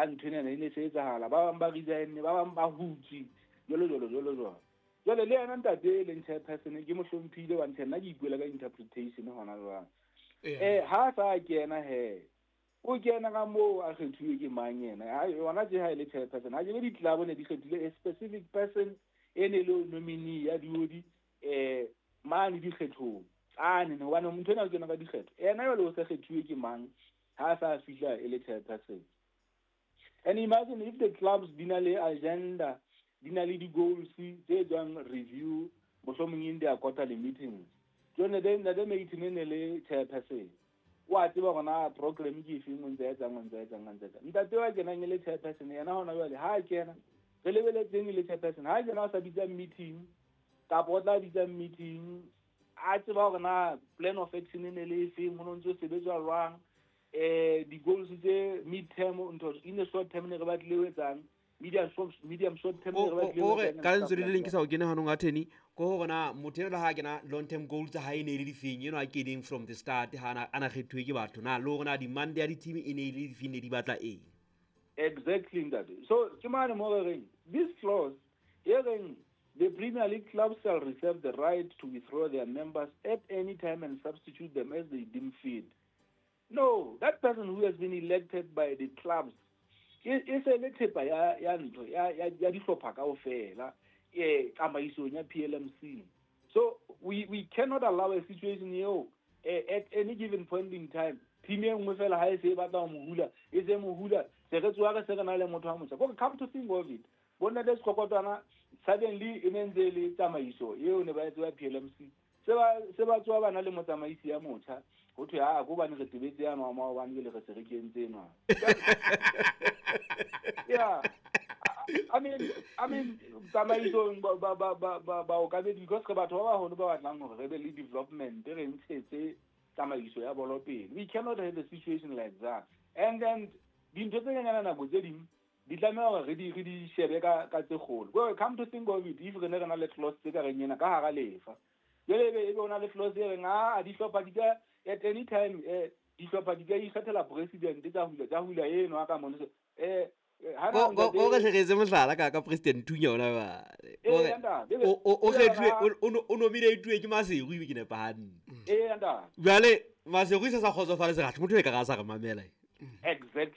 Ha ntho ena e ne se etsahala, ba bang ba resign, ba bang ba hutse, jwalo jwalo jwalo jwalo. Jwale le yena ntate e leng chairperson ke mo hlomphile wa ntho, nna ke ipuela ka interpretation hona jwang. Ha sa kena he, o kena ka moo a kgethuwe ke mang yena? Ha yona tje ha e le chairperson, ha ke di-club ne di kgethile a specific person e ne le nominee ya diodi mane dikgethong tsane, hobane motho ena o kena ka dikgetho. Yena jwale o se kgethuwe ke mang ha sa fihla e le chairperson? And imagine if the clubs di na le agenda, di na le di-goals tse tswang review mohlomong in their quarterly meetings. Jwale ntate Maitene ne le chairperson, wa tseba hore na program ke efeng, o ntse etsang, o ntse etsang, o ntse etsang. Ntate wa kenang e le chairperson yena hona jwale, ha kena re lebeletseng e le chairperson, ha kena o sa bitsa meeting kapa o tla bitsa meeting, a tseba hore na plan of action e ne le efeng, ho no ntse ho sebetswa jwang, di-goals tse mid term, ntho in the short term ne re batlile ho etsang, medium short term ne re batlile ho Kore etsang. Ka lentswe le leng ke sa o kene hanong a theni ko hore na motho eno le ha kena, long term goals tsa hae e ne e le difeng, eno a keneng from the start ha ana kgethuwe ke batho, na le hore na demand ya di-team e ne e le difeng, ne di batla eng. Exactly, ntate. So ke mane mo re reng this clause e reng the Premier League clubs shall reserve the right to withdraw their members at any time and substitute them as they deem fit. No, that person who has been elected by the clubs e se le thepa ya ntho ya dihlopha kaofela tsamaisong ya PLMC. So we cannot allow a situation eo at any given point in time team e nngwe fela ha e se e batla ho mo hula, e se mo hula, se re tsoha re se re na le motho wa motjha. Kore come to think of it, bo ntate Sekgokotwana suddenly e ne ntse e le tsamaiso eo ne ba e tseba PLMC, se ba tsoha ba na le motsamaisi ya motjha, ho thwe ha ko bane re tebetse yana wa maobane, jwale re se re kentse enwa. Yeah, I mean tsamaisong ba baokamedi, because re batho ba baholo ba batlang hore re be le development, re ntshetse tsamaiso ya bolo pele. We cannot have a situation like that. And then dintho tse nyenyana nako tse ding di tlameha hore re di shebe ka tse kgolo. Well, come to think of it, if re ne re na le clause tse ka reng ena ka hara lefa, jwale ebe o na le clause e reng a dihlopha di ka at any time dihlopha di ka ikgethela president, tsa hula eno a ka mono ha na Ko re hleketse mohlala ka president Thunya ona ba ntate, o ebe kgethuwe ha o nominate ke Maseru, ebe ke nepa hantle? Ee, ntate. Jwale Maseru se sa kgotsofale, se gatlhe motho e ka ga sa re mamela.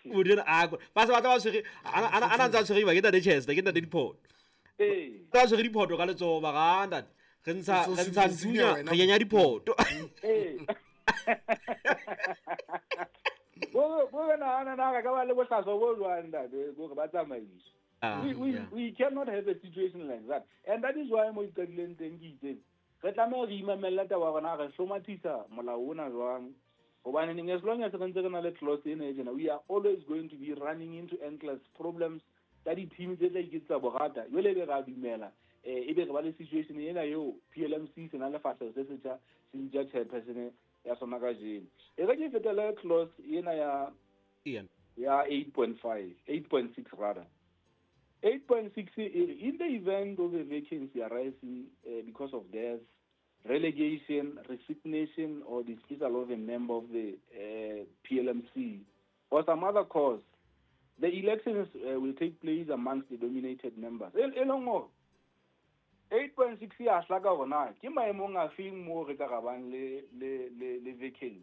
Motho ena a ba se batla ba tshwere ana ntse a tshwere ba ke ntate Chester, ke ntate Diphoto. Ba tshwere diphoto ka letsoho, ba ga ntate re ntsha O re ntsha so Nthunya, wena. Re kenya diphoto. Bo re nahana na re ka ba le bohlaswa bo jwang, ntate, kore ba tsamaiso. We we cannot have a situation like that, and that is why mo iqadileng teng ke itseng re tlameha re imamella taba ya rona, re hlomathisa molao ona jwang, hobaneng as long as re ntse re na le clause ena e tjena, we are always going to be running into endless problems tsa di-team tse tla iketsetsa borata. Jwale ebe re a dumela, ebe re ba le situation ena eo PLMC se na le fahleho se setjha, se bitsa chairperson ya sona kajeno. E re ke fetele clause ena ya Ian. ya 8.5, 8.6 rather. 8.6 e re, in the event of a vacancy arising because of death, relegation, resignation or dismissal of a member of the PLMC or some other cause, the elections will take place amongst the nominated members. E leng hore 8.6 ya hlaka hore na ke maemong a feng moo re ka rabang le vacancy.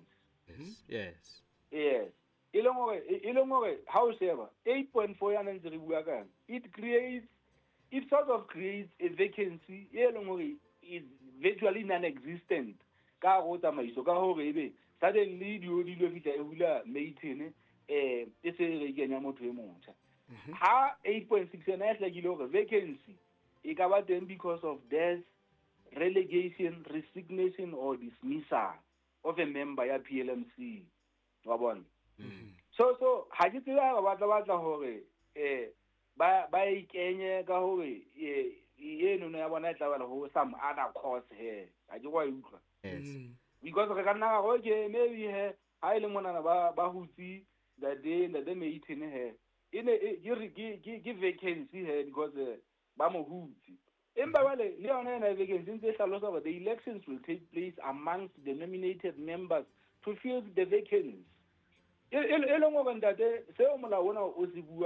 Yes. E leng hore ha o sheba 8.4 yana ntse re bua ka yona, it sort of creates a vacancy e leng hore is virtually non-existent ka hare ho tsamaiso, ka hore ebe suddenly di lo fihla e hula Mayton, e se re kenya motho e motjha. Ha 8.6 yona e hlakile hore vacancy e ka ba teng because of death, relegation, resignation or dismissal of a member ya PLMC, wa bona. So ha ke tsebe ha ba batla hore ba ikenye ka hore eno no ya bona e tla bala ho some other cause he ha ke wa e utlwa. Because re ka nna ra re, okay, maybe he ha e le monana ba hutse the Mayton he e ne ke vacancy he because ba mo hutse, empa jwale le yona ena vacancy ntse e hlalosa hore the elections will take place amongst the nominated members to fill the vacancy, e leng hore ntate seo molao ona o se bua.